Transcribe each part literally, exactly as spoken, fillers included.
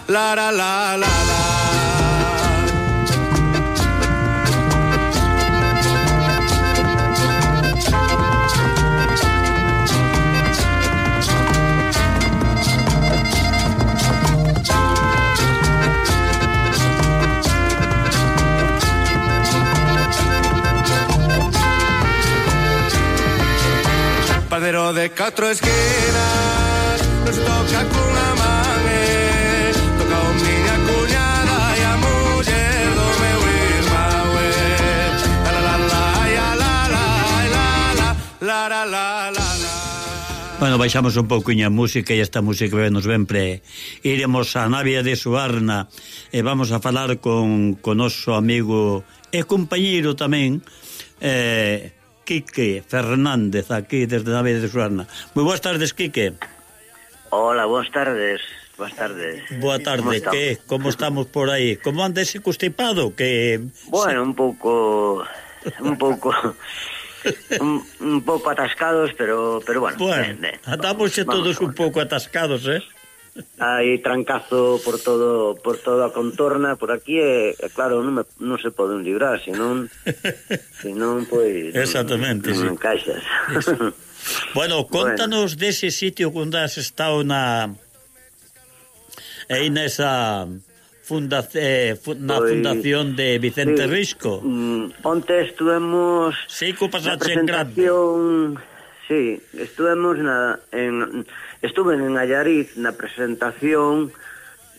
la la la la la. Padero de catro esquinas nos toca cunha man, eh. Toca o miña cuñada e a muller do meu irmão, eh. La la la la la la la la la la la. Bueno, baixamos un pouquiño a música e esta música nos ven pre. Iremos a Navia de Suarna e vamos a falar con con noso amigo e compañeiro tamén, eh Quique Fernández, aquí desde Navia de Suarna. Moi boas tardes, Quique. Hola, boas tardes. Boas tardes. Boa tarde, que como estamos por aí? Como anda ese constipado? Que bueno, un pouco un pouco un, un pouco atascados, pero pero bueno. Bueno, ben, ben. Andamos xa todos un pouco atascados, eh? Hai trancazo por todo por toda a contorna por aquí e, e claro, non, me, non se poden librar, senón senón, pois exactamente, non, non sí. encaixas. Bueno, contanos bueno. dese sitio onde has estado na aí nesa funda, eh, na pois, fundación de Vicente sí, Risco. Mm, onte estuvemos sí, co pasaxe en grande. Sí, estuvemos na, en, estuve en Allariz na presentación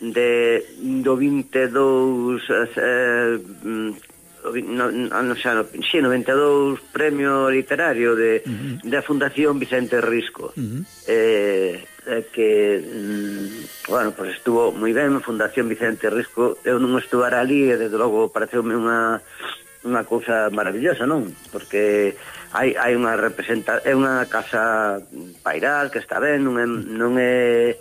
de do vinte e dous eh, no, no, xa, no, sí, noventa e dous premio literario de, uh-huh. da Fundación Vicente Risco. Uh-huh. eh, eh, que mm, bueno, pues estuvo moi ben. Fundación Vicente Risco, eu non estuvara ali e desde logo pareceume unha unha cousa maravillosa, non? Porque hai hai unha representa é unha casa pairal que está ben, non é non é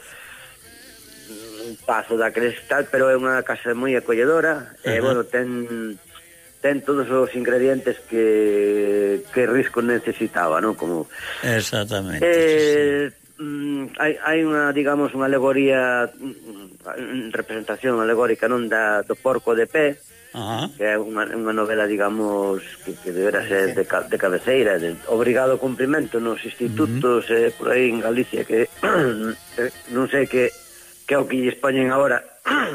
un pazo da cristal, pero é unha casa moi acolledora. Uh-huh. E bueno, ten ten todos os ingredientes que que Risco necesitaba, non? Como exactamente. Eh, sí. mm, hai hai unha, digamos, unha alegoría, representación alegórica, non, da do porco de pé. Uh-huh. Que é unha, unha novela, digamos, que, que debera ser de, de cabeceira, de obrigado cumprimento nos institutos, uh-huh. eh, por aí en Galicia, que non sei que que é o que lles poñen agora,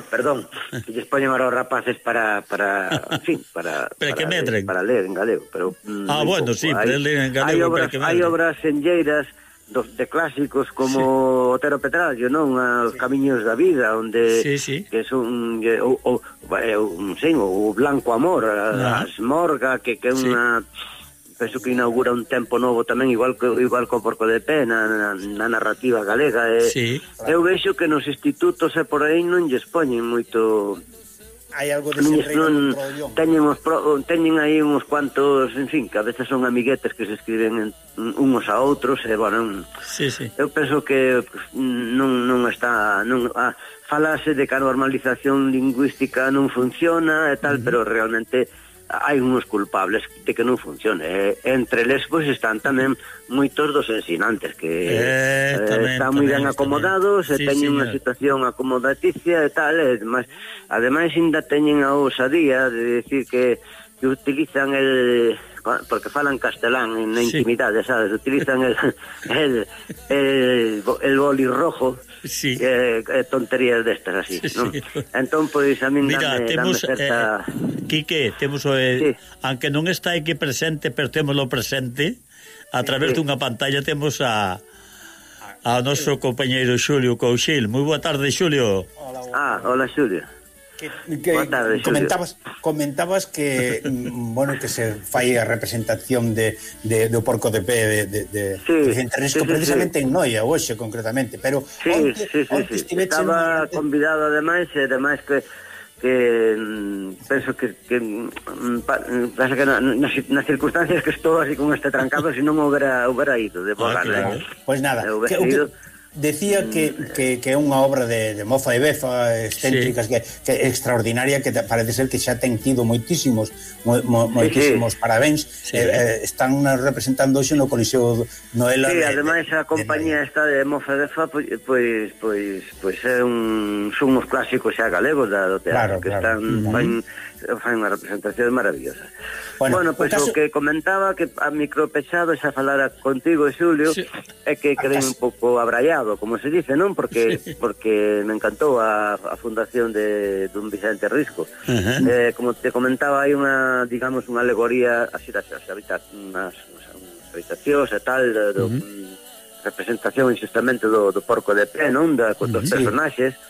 perdón, que lles poñen agora os rapaces para, para, en fin, para, para, para, ler, para ler en galego, pero mm, ah, bueno, pouco. sí, para ler en galego. Hai obras, hai obras enlleiras dos, de clásicos como sí. Otero Petrallo, non? Os sí. Camiños da vida, onde sí, sí. que son o, o, o, sí, o Blanco Amor, a, a Smorga, que, que é unha sí. penso que inaugura un tempo novo tamén, igual que igual co Porco de Pé na, na, na narrativa galega. E, sí. Eu vexo que nos institutos e por aí non lles poñen moito. Hai algo de ese non, teñen, os pro, teñen aí uns cuantos, en fin, que a veces son amiguetes que se escriben en, unos a outros, e, bueno, sí, sí. eu penso que non, non está, non, ah, falase de que a normalización lingüística non funciona e tal, uh-huh. pero realmente hai uns culpables de que non funcione. E, entre eles, pois, están tamén moitos dos ensinantes que eh, eh, tamén, están moi ben tamén, acomodados tamén. e sí, teñen unha situación acomodaticia e tal, e ademais, ademais ainda teñen a ousadía de decir que, que utilizan el... porque falan castelán na intimidade, sí. sabes? Utilizan el el, el, el boli rojo, sí. eh, eh, tonterías destas así, sí, non? Sí. Entón, pois, a min mira, dame, temos, dame certa... Eh, Quique, temos, eh, sí. aunque non está aquí presente, pero temoslo presente, a través sí. dunha pantalla temos a a noso compañeiro Xulio Couchil. Moi boa tarde, Xulio. Hola, ah, hola, Xulio. Que, que tarde, comentabas comentabas que bueno, que se fai a representación de, de do Porco de Pé de, de, de sí, Vicente Risco, sí, precisamente sí. en Noia hoxe concretamente, pero sí, onte, sí, sí, onte sí. estaba en... convidado ademais e ademais que que mm, penso que, que mm, pa, pasa que na, nas, nas circunstancias que estou así con este trancado, se non houbera, houbera ido de volar, ah, claro. eh? Pois pues nada, que, que, decía que, que, que é unha obra de, de mofa e befa, excéntricas, sí. que, que extraordinaria, que parece ser que xa ten tido moitísimos mo, mo, moitísimos sí, sí. parabéns. Sí. Eh, eh, están representando hoxe no Coliseo Noela. Sí, de, ademais a compañía de, esta de mofa e befa pois pois pois pois é un son uns clásicos xa galegos da, do teatro, claro, que claro. están uh-huh. fan, fan unha representación maravillosa. Bueno, bueno pois caso... o que comentaba que a micropechado xa falara contigo, Xulio, sí. é que quedei un pouco abraiado, como se dice, non? Porque sí. porque me encantou a, a fundación de dun Vicente Risco. Uh-huh. Eh, como te comentaba, hai unha, digamos, unha alegoría así das habitacións, unas, unas habitacións e tal, do, uh-huh. representación injustamente do, do porco de pé, non? Da, uh-huh. dos personaxes. Sí.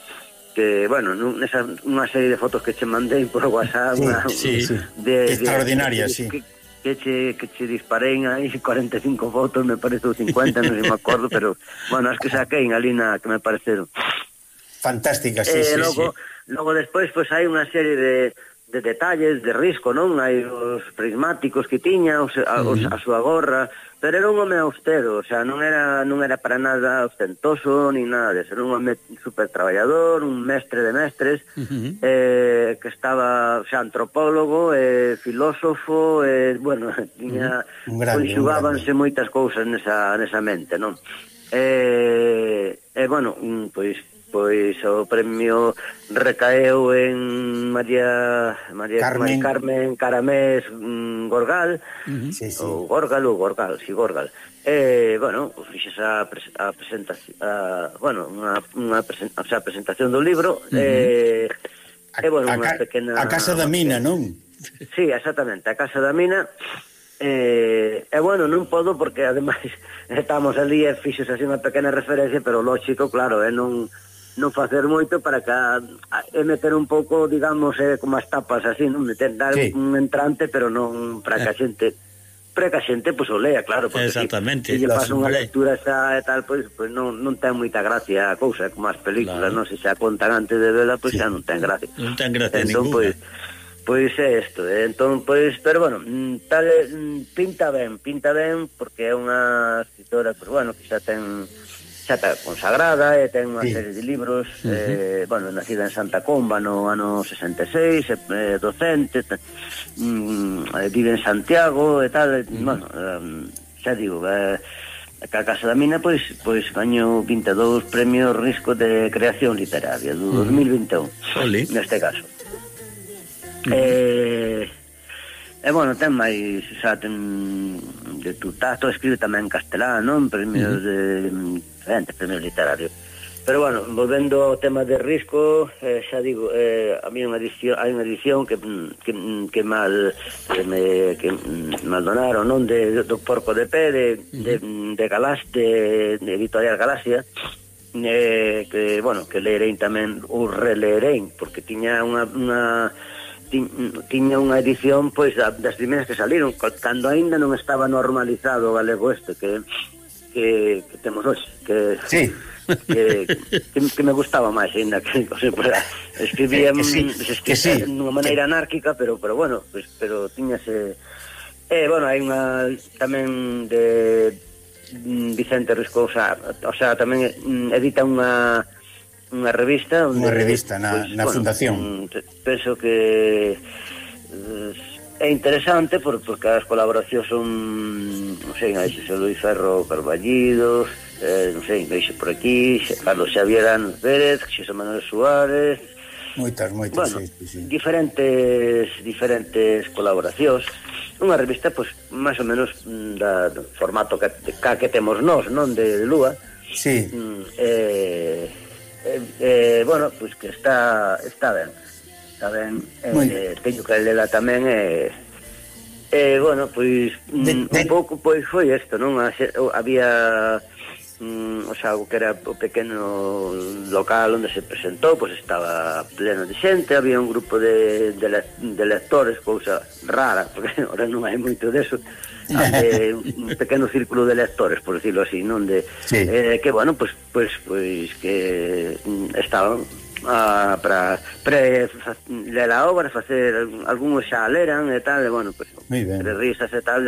Que, bueno, nesa unha serie de fotos que che mandei por WhatsApp, sí, una, sí, sí. De, extraordinaria, de, sí. Que, que, che, que che disparei aí cuarenta e cinco fotos, me parece, ou cincuenta, non sei me acordo, pero, bueno, as que saquei ali na que me pareceron fantásticas, sí, eh, sí, logo, sí. Logo despois, pois, pues, hai unha serie de de detalles de Risco, non? Hai os prismáticos que tiña, os, a, os, a súa gorra, pero era un home austero, o sea, non era non era para nada ostentoso ni nada de eso, era un home super traballador, un mestre de mestres, uh-huh. eh, que estaba, o sea, antropólogo, eh, filósofo, eh, bueno, tiña, uh-huh. grande, conxugábanse moitas cousas nesa, nesa mente, non? Eh, eh, bueno, pois pois o premio recaeu en María María Carmen, Carmen Caramés mm, Gorgal, uh-huh. sí, sí. ou Gorgal ou Gorgal, si sí, Gorgal. Eh, bueno, pues, fixes a, pres a presentación, a, bueno, unha, unha presen o sea, presentación do libro, uh-huh. eh, a, e, bueno, unha pequena... A Casa da Mina, non? Sí, exactamente, a Casa da Mina. E, eh, eh, bueno, non podo porque ademais estamos ali e fixos así unha pequena referencia, pero lógico, claro, é eh, non non facer moito para que e meter un pouco, digamos, eh, como as tapas así, non meter dar sí. un entrante, pero non para que a xente para que a xente pois pues, o lea, claro, porque exactamente, se lle pasa unha lectura xa e tal, pois pues, pues, non, non ten moita gracia a cousa, como as películas, claro. Non se xa contan antes de vela, pois pues, sí. xa non ten gracia. Non ten gracia entón, ninguna. Pois, pois é isto, eh? Entón, pois, pero bueno, tal, pinta ben, pinta ben, porque é unha escritora, pois, bueno, que xa ten xa está consagrada e ten unha sí. serie de libros, uh-huh. eh, bueno, nacida en Santa Comba no ano sesenta e seis, eh, docente, mm, vive en Santiago e tal, uh-huh. bueno, um, xa digo, eh, a Casa da Mina, pois, pois gañou vinte e dous premios Risco de creación literaria do uh-huh. dos mil vinte e un, Oli. Neste caso. Uh-huh. Eh, e, bueno, ten máis, xa, ten de tu tato, escribe tamén en castelán, non? Premios uh-huh. de diferentes premios literarios. Pero bueno, volvendo ao tema de Risco, eh, xa digo, eh, a mí unha edición, hai unha edición que que, que mal que me que mal donaron, non, de do Porco de Pé de uh-huh. de, de Galás de, de Editorial Galaxia, eh, que bueno, que leerei tamén ou releerei, porque tiña unha unha tiña unha edición pois das primeiras que saliron cando aínda non estaba normalizado o galego este que que, que temos hoxe, que sí. que, que, que me gustaba máis aínda que, o sea, pues, escribía que sí, que sí. dunha maneira anárquica, pero pero bueno, pues, pero tiñase eh, bueno, hai unha tamén de Vicente Risco, o sea, o sea tamén edita unha unha revista onde, unha revista na, pues, na bueno, fundación. Penso que é interesante por, porque as colaboracións son, non sei, hai Xosé Luis Ferro Carballidos, eh, non sei, veixo por aquí, Carlos Xavier Anos Pérez, Xosé Manuel Suárez, moitas, moitas, bueno, sí, sí, sí. diferentes diferentes colaboracións. Unha revista, pois, pues, máis ou menos da, do formato que, que, que temos nós, non, de, de Lúa. Sí. Eh, eh, eh, bueno, pois pues que está está ben. Está ben, eh, teño que lela tamén e eh, eh, bueno, pois de, de... un pouco pois foi isto, non? Había mm, o sea, o que era o pequeno local onde se presentou, pois estaba pleno de xente, había un grupo de, de, le, de lectores, cousa rara, porque ahora non hai moito deso, de, un pequeno círculo de lectores, por decirlo así, non? De, sí. eh, que, bueno, pois, pois, pois que mm, estaban a, para pre ler a obra, facer algúns xa leran e tal, e bueno, pues, entre risas e tal,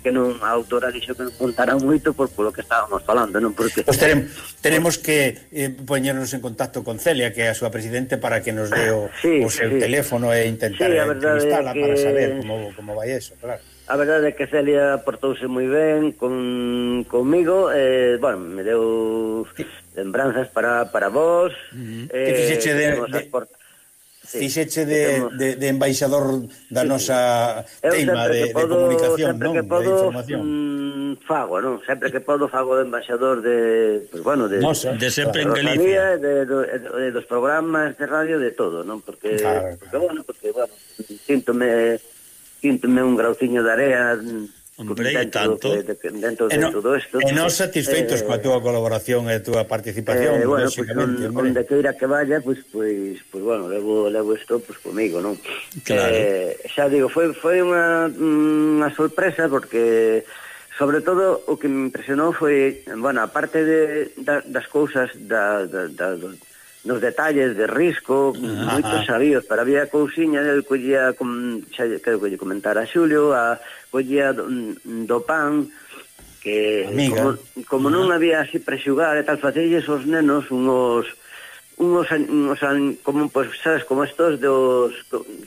que non a autora dixo que non contarán moito por polo que estábamos falando, non? Porque pues tenemos, tenemos que eh, poñernos en contacto con Celia, que é a súa presidente, para que nos dé o, sí, o seu sí. teléfono e intentar sí, entrevistala que... para saber como, como vai eso, claro. A verdade é que Celia portouse moi ben con, comigo, eh, bueno, me deu lembranzas para, para vos. Uh-huh. Eh, que fixeche de, de, port... sí, fixeche de, de, de embaixador da sí, nosa sí. tema de, podo, de comunicación, non? Que podo, de información. Mm, fago, non? Sempre que podo fago de embaixador de, pues, bueno, de, Nosa, de sempre claro. en Galicia. De, de, de, de dos programas de radio, de todo, non? Porque, claro, porque bueno, porque, bueno, síntome... síntome un grauciño de area. Hombre, e tanto. De, de, dentro de no, todo isto. E non satisfeitos eh, coa túa colaboración e a túa participación, eh, bueno, lógicamente. Pues, on, onde queira que vaya, pois, pues, pues, pues, bueno, levo, levo isto pues, comigo, non? Claro. Eh, xa digo, foi, foi unha, unha sorpresa, porque sobre todo o que me impresionou foi, bueno, aparte de, da, das cousas da, da, da, nos detalles de risco, ah, moitos sabíos, pero había cousiña, el collía, xa creo que lle comentara a Xulio, a collía do, do pan, que como, como non había así prexugar e tal, facelles os nenos unhos, unhos, unhos como, pues, sabes, como estos dos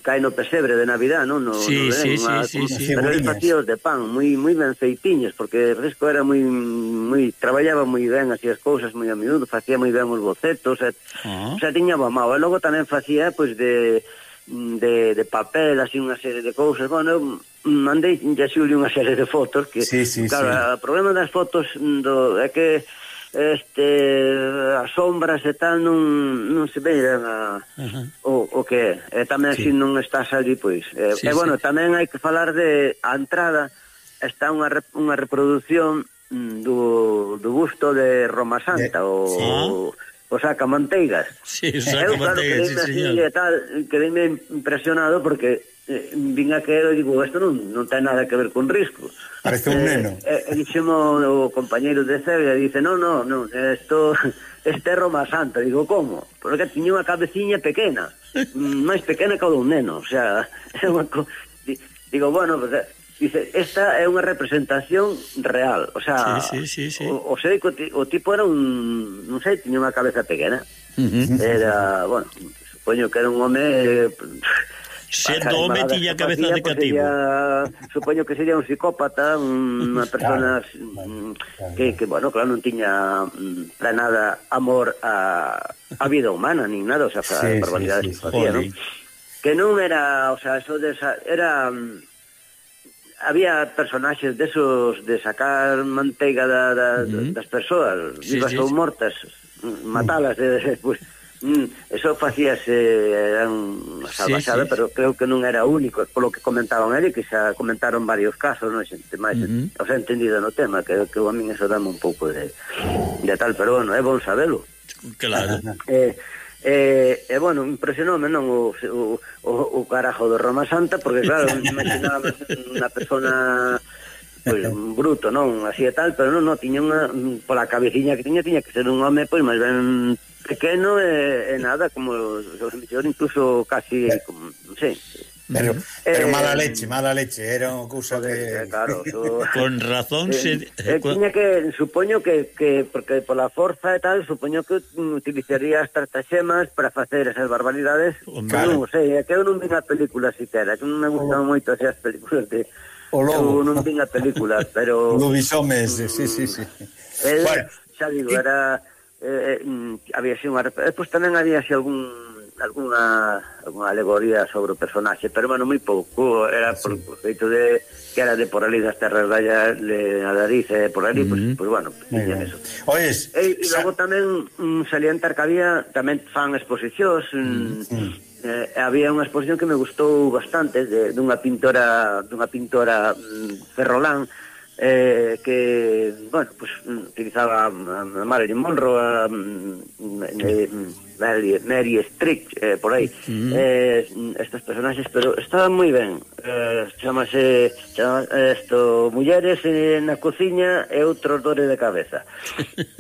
caen no pesebre de Navidad, non? No, sí, no sí, una, sí, sí, sí. Pero eles facíos de pan, moi moi ben feitiños, porque o Risco era moi moi traballaba moi ben así as cousas, moi a miúdo, facía moi ben os bocetos, e, uh-huh. o sea, tiña mamao, e logo tamén facía, pois, pues, de de, de papel, así unha serie de cousas. Bueno, eu mandei a Xulio unha serie de fotos que, sí, sí, claro, sí. O problema das fotos do, é que este as sombras e tal non, non se vean a, uh-huh. o, o que é. E tamén sí. Se non estás ali, pois e, sí, e bueno, sí. Tamén hai que falar de a entrada, está unha, unha reproducción do, do busto de Roma Santa, de... o, sí. o o sacamanteigas. Sí, o sacamanteigas, claro, sí, señor. Tal, quedéme impresionado porque eh, vin a que e digo, isto non, non ten nada que ver con Risco. Parece un neno. E eh, eh, dixemos o compañeiro de Celia, dice, no, no, no, esto este é Roma Santa. Digo, como? Porque tiña unha cabeciña pequena, máis pequena que o dun neno, o sea, é unha co... digo, bueno, pues, dice, esta é unha representación real, o sea, sí, sí, sí, sí. O, o, sei, o tipo era un, non sei, tiña unha cabeza pequena, uh-huh. Era, bueno, supoño que era un home... Eh, sendo home tiña cabeza de cativo. Sería, supoño que sería un psicópata, unha persona claro, que, que, bueno, claro, non tiña para nada amor a, a vida humana, nin nada, o sea, para sí, barbaridades sí, sí, que facía, ¿no? Que non era, o sea, eso de esa, era... había personaxes desos de sacar manteiga da, da, uh-huh. das persoas, vivas sí, sí, ou mortas, matalas, uh-huh. pues, mm, eso facíase, era unha salvaxada, sí, sí. Pero creo que non era único, polo que comentaban ele, que xa comentaron varios casos, non xente máis, uh-huh. O sea, entendido no tema, que, que a min eso dame un pouco de, de tal, pero bueno, é bon sabelo. Claro. Eh, E, eh, eh, bueno, impresionoume non o, o, o, o carajo de Roma Santa, porque claro, imaginaba unha persona pues, un bruto, non, así e tal, pero non, non, tiña unha, pola cabeciña que tiña, tiña que ser un home, pois, máis ben pequeno e, e nada, como incluso casi, como, non sei. Pero, pero eh, mala leche, mala leche, era unha cousa que... Claro, so, con razón eh, se... Eh, tiña que, supoño que, que, porque pola forza e tal, supoño que utilizaría as trataxemas para facer esas barbaridades. Claro. Non sei, é que eu non vi a película siquiera, que non me gustan moito así as películas de... O lobo. Eu non vi a película, pero... Lobisomes, mm, sí, sí, sí. El, bueno, xa digo, era... Eh, eh, había así unha... Depois tamén había así algún... alguna alguna alegoría sobre o personaxe, pero bueno, moi pouco, era por o feito de que era de por ali das terras de allá, de Adariz, e por ali, mm-hmm. pues, pues bueno, tiñan eso. Oyes, e, e logo tamén um, salientar que había, tamén fan exposicións, mm-hmm. eh, había unha exposición que me gustou bastante, de, dunha pintora, dunha pintora um, ferrolán, Eh, que, bueno, pues utilizaba a Marilyn Monroe, a, a, a Mary, Mary Streep, eh, por aí, mm. eh, estos personaxes, pero estaban moi ben. Eh, chamase, chamase esto, mulleres eh, na cociña e outros dores de cabeza.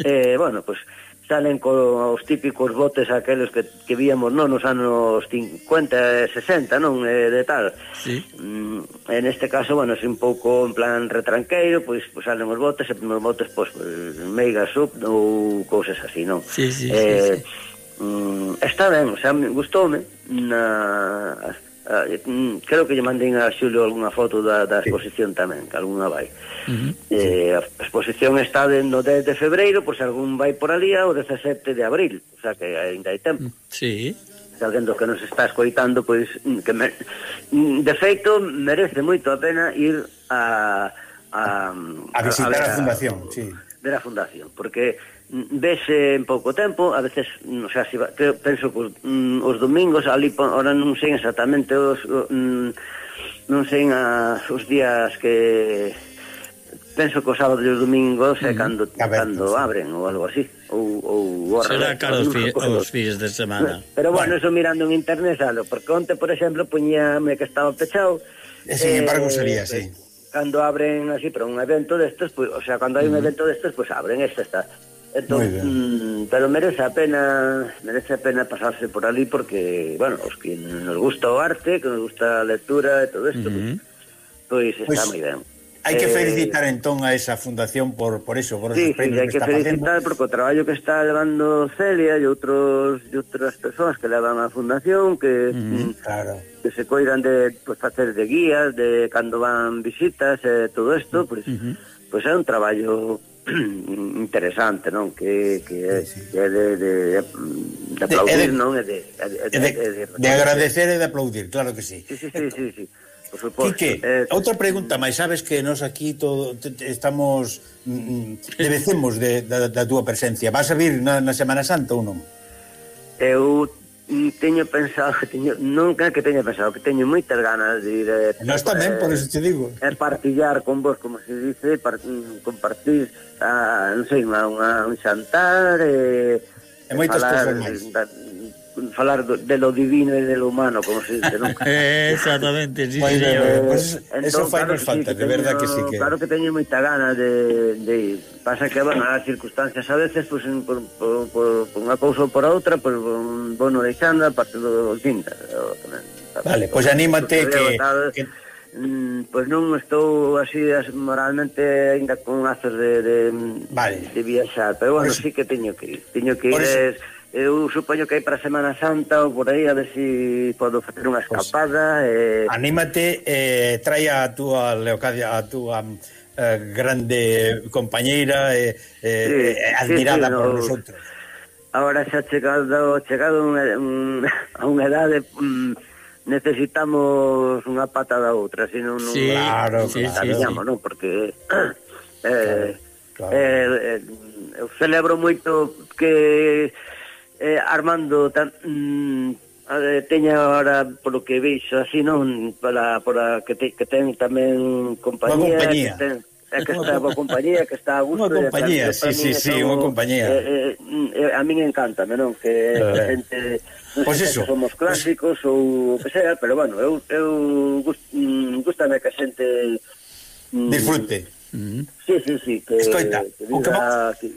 eh, bueno, pues salen con os típicos botes aqueles que, que víamos non nos anos cincuenta e sesenta, non, eh, de tal. Sí. Mm, en este caso, bueno, é un pouco en plan retranqueiro, pois, pois salen os botes, e nos botes, pois, meiga sub ou cousas así, non? Sí, sí, eh, sí, sí. Mm, está ben, o sea, gustoume na... Uh, creo que lle mandei a Xulio algunha foto da, da exposición tamén, que algunha vai. Uh-huh. eh, a exposición está de, no dez de febreiro, pois algún vai por ali ao dezasete de abril, o sea que ainda hai tempo. Sí. Se alguén do que nos está escoitando, pois que me, de feito merece moito a pena ir a a, a visitar a, a, a fundación, a, sí. Ver a fundación, porque vese en pouco tempo, a veces, o sea, si va, creo, penso que os, mm, os domingos ali, ahora non sei exactamente os mm, non sei a, os días que penso que os sábados e os domingos é uh -huh. cando, cando abren ou algo así, ou, ou será caro os, fi, os fines de semana. Pero bueno, bueno, eso mirando en internet, salo, porque onte, por exemplo, poñíame que estaba pechado, e sin eh, embargo sería así. Cando abren así, pero un evento destes, pues, o sea, cando hai un uh -huh. evento destes, pues abren, esta está. Entón, mm, pero merece a pena merece a pena pasarse por ali porque, bueno, os que nos gusta o arte, que nos gusta a lectura e todo isto, uh -huh. pois pues, está pues, moi ben. Hai que felicitar eh, entón a esa fundación por por eso, por sí, esos premios sí, hai que, que felicitar facendo. Porque o traballo que está levando Celia e outros e outras persoas que levan a fundación que, uh -huh, claro. que se coidan de pues, facer de guías, de cando van visitas e eh, todo isto, pois pues, uh -huh. pues é un traballo interesante, non? Que, que, sí, sí. que é de, de, de aplaudir, de, non? É de, de, de, de, de, de agradecer e de aplaudir, claro que sí. Sí, sí, sí, sí, sí. Por suposto. Quique, eh, outra pregunta máis, sabes que nos aquí todo te, te, estamos mm, debecemos de, da, da túa presencia. Vas a vir na, na Semana Santa ou non? Eu teño pensado, teño, nunca que teño pensado, que teño moitas ganas de ir eh, Nós tamén, eh, por eso te digo. É partillar con vos, como se dice, par, compartir a, non sei, unha, unha, un xantar e, e moitas cousas máis. Da, falar do, de lo divino e de lo humano, como se dice, non? Exactamente, sí, pues, sí, eh, pues, entón, eso fai claro nos falta, sí, de verdad que sí que... Claro que teño moita gana de, de ir. Pasa que, bueno, as circunstancias a veces, pues, por, por, por, por unha cousa ou por outra, pues, bueno, deixando a parte do tinta. Vale, pois pues anímate que... que... Mm, pois pues non estou así moralmente ainda con azos de, de, vale. de viaxar, pero bueno, pues, sí que teño que ir. Teño que ir... Es, eu supoño que hai para Semana Santa ou por aí a ver se si podo facer unha escapada. Pues, eh... Anímate, eh, trae a túa Leocadia, a túa eh, grande compañeira eh, eh, sí, admirada sí, sí, por no, nosotros. Ahora xa chegado, chegado un, un, a unha edade um, necesitamos unha pata da outra, senón non sí, claro, sí, claro, sí, sí. Non, porque eh, claro, claro. Eh, eh, eu celebro moito que Eh, Armando tan, mm, eh, teña ahora polo que veixo así, non, para, para que, te, que ten tamén compañía, compañía. Que, ten, eh, que está boa compañía, que está a gusto. Unha compañía, sí, sí, sí, unha compañía. Eh, eh, a min encántame, non, que eh. xente non pues sei, que somos clásicos pues... ou o que sea, pero bueno, eu, eu gust, mm, gustame que a xente mm, disfrute. Mm. Sí, sí, sí, que, Escoita, que diga, o que va... que,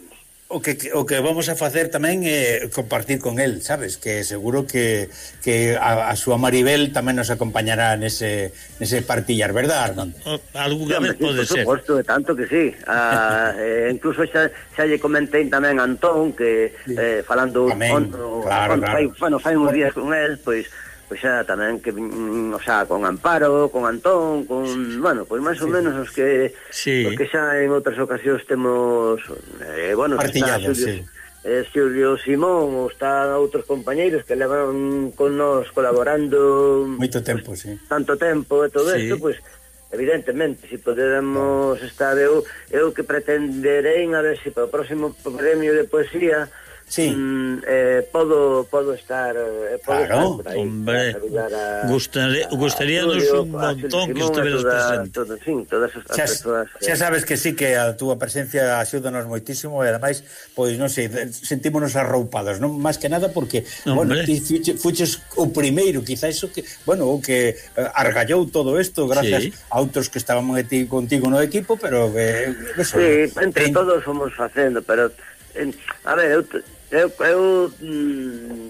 O que, o que vamos a facer tamén é compartir con el, sabes? Que seguro que, que a, a súa Maribel tamén nos acompañará nese, nese partillar, verdad, Armando? Alguna vez sí, pode ser. Por suposto, de tanto que sí. Ah, eh, incluso xa, xa lle comentei tamén a Antón, que eh, falando... Tamén, on, claro, on, claro. Fai, bueno, fai uns días con el, pois... Pois xa tamén que, o sea, con Amparo, con Antón, con, bueno, pois máis ou sí. menos os que sí. os que xa en outras ocasións temos eh, bueno, partillado, Xulio, sí. eh, Xulio Simón, ou está outros compañeiros que levan con nós colaborando moito tempo, pues, sí. Tanto tempo e todo sí. isto, pois pues, evidentemente, se si podemos no. estar eu, eu que pretenderei a ver se si para o próximo premio de poesía sí. Mm, eh, podo podo estar eh, podo claro, estar por aí, hombre, a, gustaría, gustaríanos un montón que estuvieras presente. Todo, sí, todas as xa, persoas. Xa sabes que sí, que a túa presencia axúdanos moitísimo e ademais, pois non sei, sentímonos arroupados, non máis que nada porque, hombre. Bueno, ti fuches o primeiro, quizás iso que, bueno, o que eh, argallou todo isto gracias sí. a outros que estábamos ti, contigo no equipo, pero eh, eso, sí, entre en... todos fomos facendo, pero eh, a ver, eu eu, eu mm,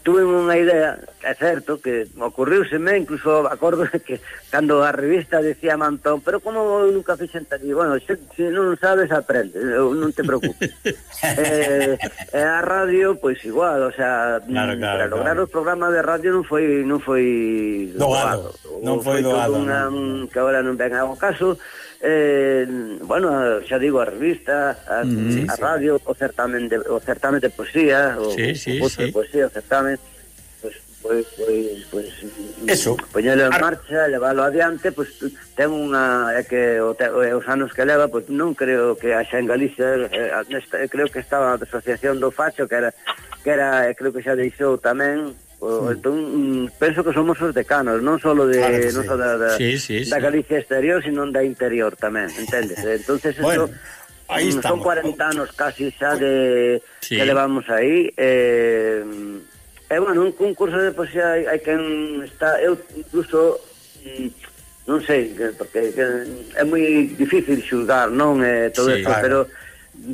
tuve unha idea, é certo, que ocurriuseme, incluso acordo que cando a revista decía Mantón, pero como eu nunca fixen tal, bueno, se, se non sabes, aprende, eu non te preocupes. eh, e a radio, pois igual, o sea, claro, claro, para lograr claro. os programas de radio non foi non foi doado, non foi doado, unha, non. que agora non ven ao caso. Eh, bueno, xa digo, a revista, a, Mm, a sí, radio, o certamen de, o certamen de poesía, o, Sí, sí, o curso sí. de poesía, o certamen, pues, pues, pues, pues Eso. poñelo en Ar... marcha, leválo adiante, pues ten unha, é que o te, os anos que leva, pues non creo que haxa en Galicia, eh, nesta, creo que estaba a Asociación do Facho, que era, que era, creo que xa deixou tamén. O, entón, mm, penso que somos os decanos, non só de, Claro que non sí. só da, da, Sí, sí, da sí. Galicia exterior, sino da interior tamén, entendes? Entonces, Bueno, eso, aí mm, son estamos. cuarenta anos casi xa de Sí. que levamos aí. Eh, e, bueno, un concurso de poesía hai, hai quen está, eu incluso, mm, non sei, que, porque que, é moi difícil xulgar, non? Eh, todo Sí, isto, claro. pero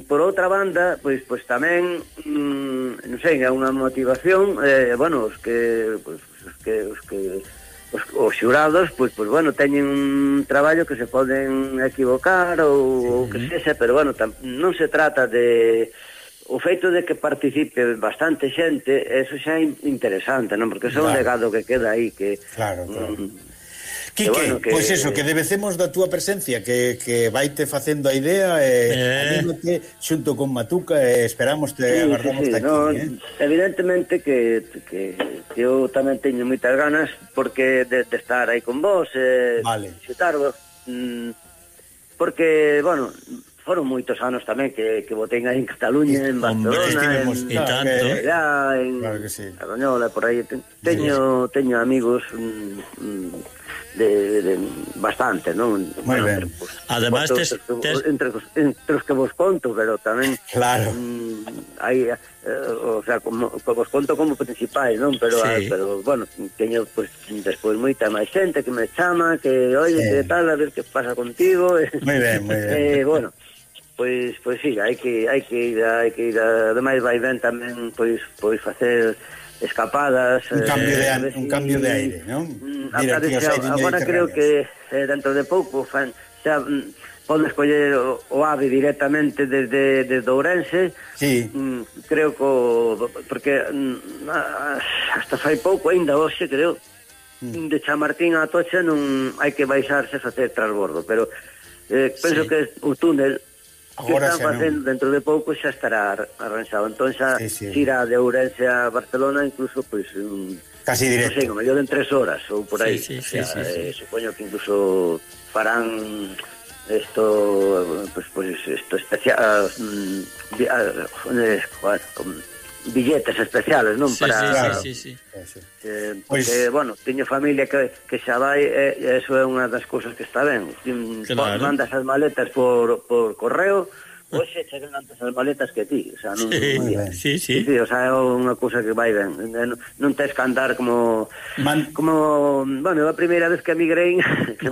por outra banda, pois pois tamén mmm, non sei, é unha motivación, eh, bueno, os que pois, os que os que os, os xurados, pois pois bueno, teñen un traballo que se poden equivocar ou, ou que sexa, pero bueno, tam, non se trata de o feito de que participe bastante xente, eso xa é interesante, non? Porque eso é un Claro. legado que queda aí que Claro, claro. mm, Quique, bueno, que- pois pues eso, que debecemos da túa presencia, que, que vaite facendo a idea, e Eh. anímate xunto con Matuca, e esperamos te Sí, agardamos sí, sí, aquí, no, eh? evidentemente que, que, que eu tamén teño moitas ganas porque de, de estar aí con vos, eh, Vale. xutarvos, mm, porque, bueno, foron moitos anos tamén que, que botei aí en Cataluña, en Hombre, Barcelona, estivemos- en, e tanto. en, allá, en Claro que sí. Arroñola, por aí. Te- Teño, teño amigos mm, mm, de, de bastante, non? Moi ben. entre, pues, Además, entre, tes- os- tes- entre, os- entre os que vos conto, pero tamén Claro. mm, hai, eh, o sea, como, vos conto como principais, non? Pero, Sí. ah, pero bueno, teño, pues, despois moita máis xente que me chama, que, oye, Sí. que tal, a ver que pasa contigo. Moi ben, moi ben. Eh, bueno, pois, pois sí, hai que, hai que ir, hai que ir, ademais vai ben tamén, pois, pois facer escapadas, Un cambio de, a ver un si- cambio de aire, non? Mm, Mira, a- aquí os xa- aires agora creo mediterráneos. que eh, dentro de pouco fan, xa mm, podes coller o, o ave directamente desde, desde Ourense. Sí. Mm, creo que o- porque mm, a- hasta fai pouco ainda hoxe creo Mm. de Chamartín a Atocha non hai que baixarse a facer transbordo, pero eh, penso Sí. que o túnel que Agora están xa non. facendo dentro de pouco xa estará ar- arranxado. Entón xa Sí, sí. xira de Ourense a Barcelona incluso pois un, Casi non sei, directo. como mellor en tres horas ou por aí. Sí, sí, sí, O sea, sí, sí. eh, supoño que incluso farán esto, pues, pues esto especial, mm, vi- ah, eh, bueno, con billetes especiales, non? Sí, Para, sí, sí, sí, sí. Eso. Eh, Pois- porque, bueno, teño familia que, que xa vai e eh, eso é unha das cousas que está ben. Ti, Claro. mandas as maletas por, por correo, hoxe chegan antes as maletas que ti, o sea, non, Sí, non día. sí, Sí, sí. sí, o sea, é unha cousa que vai ben. Non, non tes que andar como Man- como, bueno, a primeira vez que emigrei que,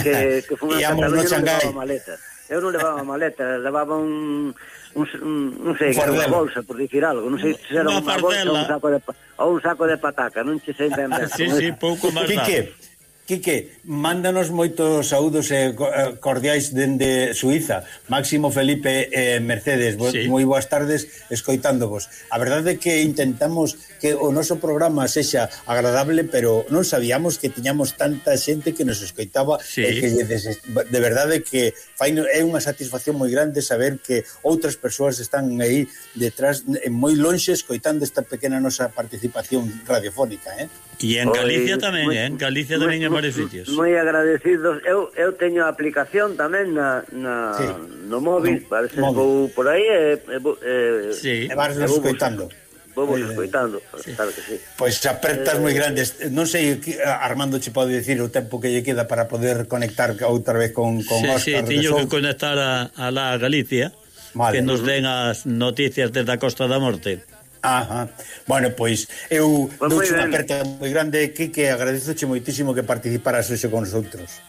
que, que fui a Íamos no Cataluña non Shanghái. levaba maleta. Eu non levaba maleta, levaba un un, un non sei, Un que era unha fardelo. bolsa, por dicir algo, non sei se era Unha unha bolsa ou un fardela. saco de pa- ou un saco de pataca, non che sei ben ben. Sí, sí, pouco máis dá. Quique, Quique, mándanos moitos saúdos e co- eh, cordiais dende Suiza. Máximo, Felipe e eh, Mercedes, bo, Sí. moi boas tardes escoitándovos. A verdade é que intentamos que o noso programa sexa agradable, pero non sabíamos que tiñamos tanta xente que nos escoitaba. Sí. E que lle des- de verdade que fai, é unha satisfacción moi grande saber que outras persoas están aí detrás, en moi lonxe, escoitando esta pequena nosa participación radiofónica, eh? E en Galicia Pois, tamén, moi- eh? En Galicia tamén en varios sitios. Moi agradecidos. Eu, eu teño a aplicación tamén na, na Sí. no móvil, No, parece que móvil. vou por aí e, e, vou- e, Sí. E vas e vou vos- escoitando. Vou vos Moi ben. escoitando, claro que sí. Pois apertas moi grandes. Non sei, que Armando che pode dicir o tempo que lle queda para poder conectar outra vez con, con Sí, sí, Óscar de tiño que Sou. conectar a, a la Galicia, Vale. que nos den as noticias desde a Costa da Morte. Ajá. Bueno, pois eu Pois moi douche unha ben. aperta moi grande, Quique, agradezoche moitísimo que participaras hoxe con nosotros.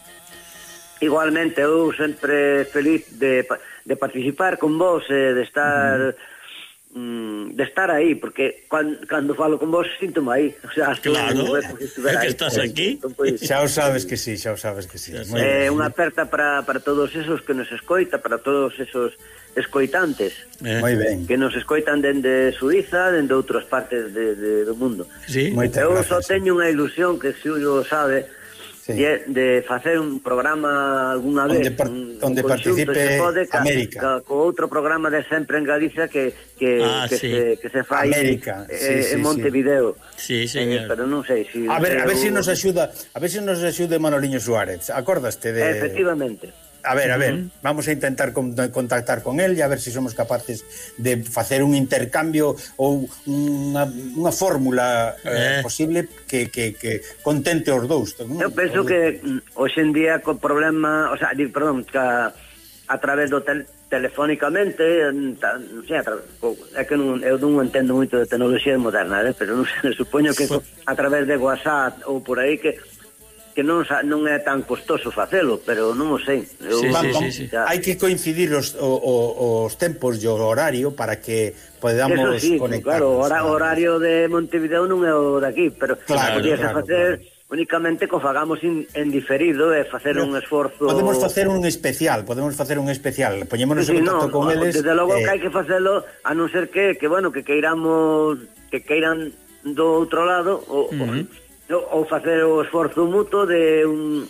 Igualmente, eu sempre feliz de, pa- de participar con vos, eh, de estar mm, de estar aí, porque cando, cando falo con vos síntome aí, o sea, claro, é que estás aquí. Pues, xa o sabes que sí, xa o sabes que sí. É eh, unha aperta para, para todos esos que nos escoita, para todos esos escoitantes eh. Moi ben. Que nos escoitan dende Suiza, dende outras partes de, de, do mundo. Sí. Eu só teño unha ilusión que se o sabe, sí, de, de facer un programa alguna vez, onde, par, un, onde un participe pode, ca, América, ca, co outro programa de Sempre en Galicia que que, ah, que, sí, se, que se fai América, eh, sí, sí, en Montevideo. Sí, señor. Eh, pero non sei si A ver, a ver eu... se si nos axuda, a ver se si nos axude Manoliño Suárez. Acordaste de Efectivamente. A ver, a ver, uh -huh. vamos a intentar con, contactar con él e a ver se si somos capaces de facer un intercambio ou unha, unha fórmula eh, eh. posible que, que, que contente os dous. ¿no? Eu penso que hoxe en día co problema, o sea, di, perdón, que a, a través do tel, telefónicamente, non sei, é que non, eu non entendo moito de tecnoloxía moderna, eh, pero non sei, supoño que a través de WhatsApp ou por aí que que non non é tan costoso facelo, pero non o sei. Eu, sí, vamos, sí, sí, sí. Hai que coincidir os, o, o, os tempos e o horario para que podamos sí, conectarnos. Claro, o horario de Montevideo non é o de aquí, pero claro, podía claro, facer claro. únicamente co fagamos in, en diferido e facer pero un esforzo. Podemos facer un especial, podemos facer un especial. Poñémonos sí, en contacto no, con eles. Desde logo eh... que hai que facelo, a non ser que, que bueno, que queiramos que queiran do outro lado o, uh -huh. o, ou facer o esforzo mutuo de un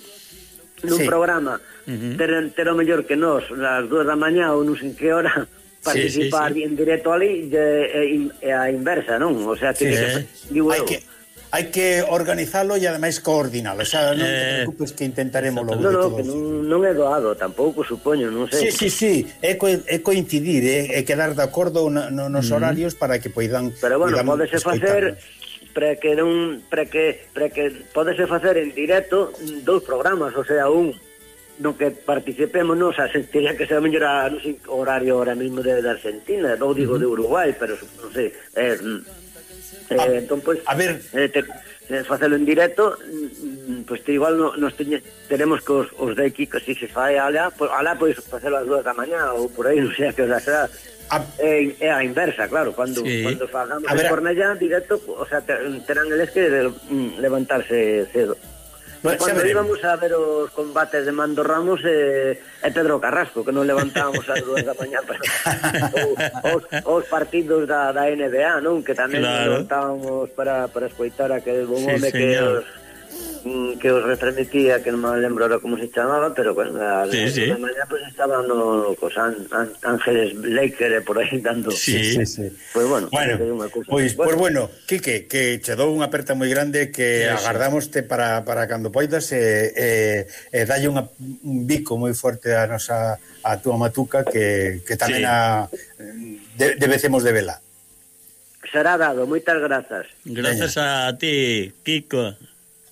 dun sí. programa uh -huh. ter, ter o mellor que nós nas dúas da mañá ou non sei en que hora participar sí, sí, sí. en directo ali e, e, e a inversa, non? O sea, que, sí, que, sí. Digo, hai que hai que organizalo e ademais coordinalo, o sea, non te preocupes que intentaremos logo. No, no, que non, non é doado tampouco, supoño, non sei. Sí, sí, sí, é, co, é coincidir, é, é quedar de acordo no, no, nos uh -huh. horarios para que poidan. Pero bueno, podese facer para que non para que para que podese facer en directo dous programas, o sea, un no que participemos, non, o sea, sentiría que sea mellor a, non sei, horario ahora mismo de, de Argentina, non digo uh -huh. de Uruguay, pero non sei, eh, Eh, ah, entón, pues, a ver, eh, te, eh, facelo en directo, pues te igual no, nos teñe, tenemos que os, os de aquí, que si se fai alá, pues, alá pois facelo ás dúas da mañá ou por aí, non sei a que hora será. É eh, eh, a inversa, claro, cando sí. cando fagamos en Cornellá directo, o sea, terán eles que levantarse cedo. Pues cando íbamos a ver os combates de Mando Ramos e eh, Pedro Carrasco, que non levantábamos ás dúas da mañá para os, os partidos da, da N B A, non? Que tamén claro. levantábamos para, para escoitar a aquel bon home sí, que os que os retransmitía, que non me lembro ahora como se chamaba, pero bueno, a sí, sí. de mañá pues estaban no, cos an, an, Ángeles Laker por aí dando. Sí, sí, sí. Pues bueno, bueno, pois pues, bueno, Quique, que che dou unha aperta moi grande que sí, agardámoste para, para cando poidas e eh, eh, dalle unha, un bico moi forte a nosa a túa matuca que, que tamén sí. a de, debecemos de vela. Será dado, moitas grazas. Grazas Veña. A ti, Kiko.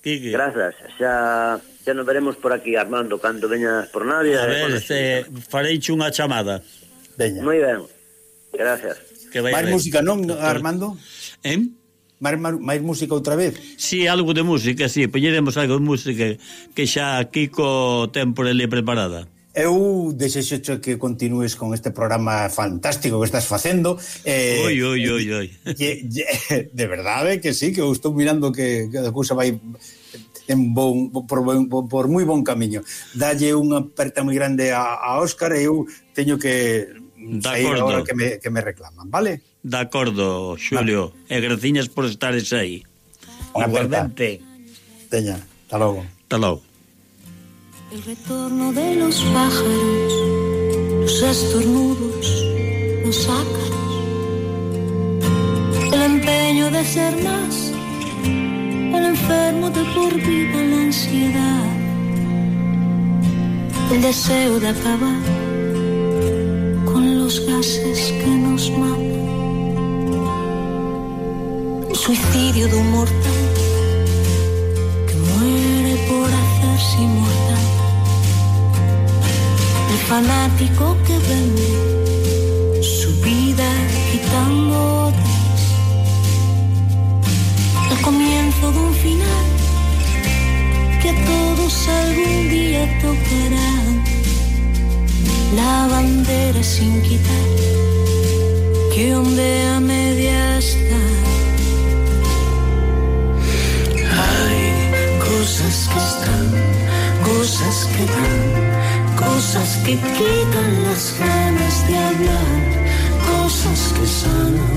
Quique. Grazas, xa, xa nos veremos por aquí, Armando, cando veñas por Navia. A ver, este, fareiche unha chamada. Veña. Moi ben, gracias. Mais música, non, Armando? Eh? Mais, mais música outra vez? Sí, algo de música, sí, poñeremos algo de música que xa Kiko ten por ele preparada. Eu desexo que continúes con este programa fantástico que estás facendo. Eh, oi, oi, oi, oi. E, e, de verdade que sí, que eu estou mirando que, que a cousa vai en bon, por, por, por moi bon camiño. Dalle unha aperta moi grande a, a Óscar e eu teño que sair agora que me, que me reclaman, vale? De acordo, Xulio. Vale. E graciñas por estares aí. Igualmente. Teña, hasta logo. Hasta logo. El retorno de los pájaros, los estornudos, los ácaros, el empeño de ser más, el enfermo de por vida, la ansiedad, el deseo de acabar con los gases que nos matan, el suicidio de un mortal que muere por hacerse inmortal. El fanático que vende su vida quitando otras, el comienzo de un final que a todos algún día tocará, la bandera sin quitar, que onde a media está. Hay cosas que están, cosas que dan, cosas que quitan las ganas de hablar, cosas que sanan,